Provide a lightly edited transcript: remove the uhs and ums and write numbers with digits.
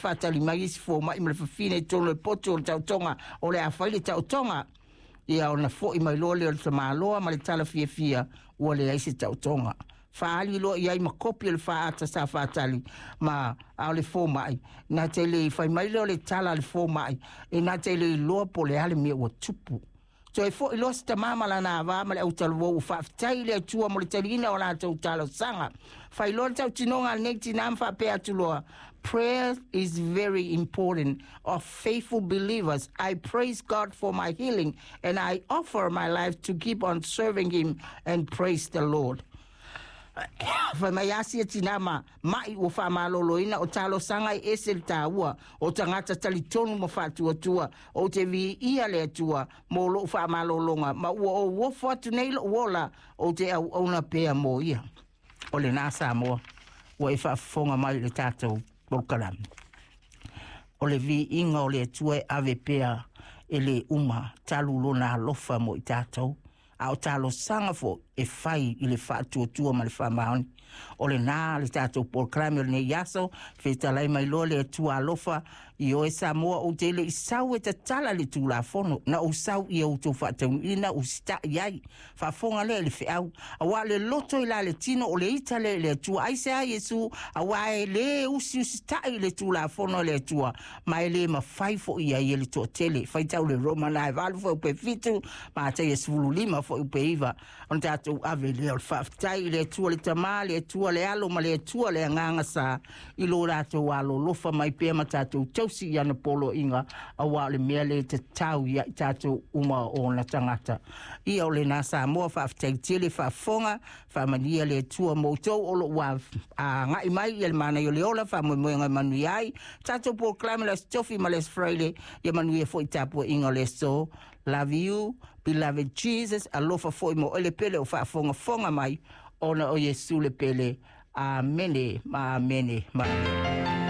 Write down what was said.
faatali mai isi fomai ma le fafine i totonu o le potu o le taotoga o le a fai le taotoga. Ia ona fo'i mai loa lea o le tamaloa ma le tala fiafia ua leai se taotoga. Faaali loa i ai ma kopi o le faaata sa faatali ma a o le fomai na te le fai mai lea o le tala a le fomai e na te le iloa po o le a le mea ua tupu. Toe fo'i loa si tamā ma lana avā ma le autalavou ua faafetai i le Atua mo le taliina o latou talosaga. Fai loa le tautinoga a lenei tinā ma faapea atu loa, Prayer is very important of faithful believers. I praise God for my healing and I offer my life to keep on serving Him and praise the Lord. Fai mai Asia tinā ma ma'i ua faamaloloina o talosaga e ese le tāua o tagata talitonu ma faatuatua ou te viia le Atua mo lo'u faamalologa ma ua ou ofo atu nei lo'u ola ou te auauna pea mo ia. O lenā Samoa ua e faafofoga mai i le tatou polokalame. O le viiga o le Atua e ave pea e lē uma talu lona alofa mo i tatou a o talosaga foi e fai i le faatuatua ma le faamaoni. O lenā le tatou polokalame o lenei aso, fetalai mai loa le Atua alofa i oe Samoa ou te le i sau e tatala le Tulafono, na ou sau ia outou faataunuuina usita'i ai. Faafofoga lea i le feau, auā le loto i la le tino o le ita lea i le Atua. Aisea Iesu, auā e lē usiusita'i i le Tulafono a le Atua, ma e lē mafai foi i ai e le toatele. Faitau le Roma na e 8 fuaiupu 7, Mataia 15 fuaiupu 9. Ona tatou ave lea o le faafetai i le Atua le Tamā, le Atua le Alo ma le Atua le Agaga Sa i lo latou alolofa mai pea ma tatou tausi i ana poloaiga, auā o le mea lea e tatau ia i tatou uma o ona tagata. Ia o lenā Samoa, faafetai tele faafofoga, faamanuia le Atua mo outou o lo o ua agai mai ia le manaia o le ola, faamoemoega e manuia ai tatou polokalame le Aso Tofi ma le Aso Faraile, ia manuia foi tapuaiga o le aso. Love you, beloved Jesus, alofa foi mo oe le pele o faafogafoga mai ona o Iesu le pele. Amene ma amene ma amene.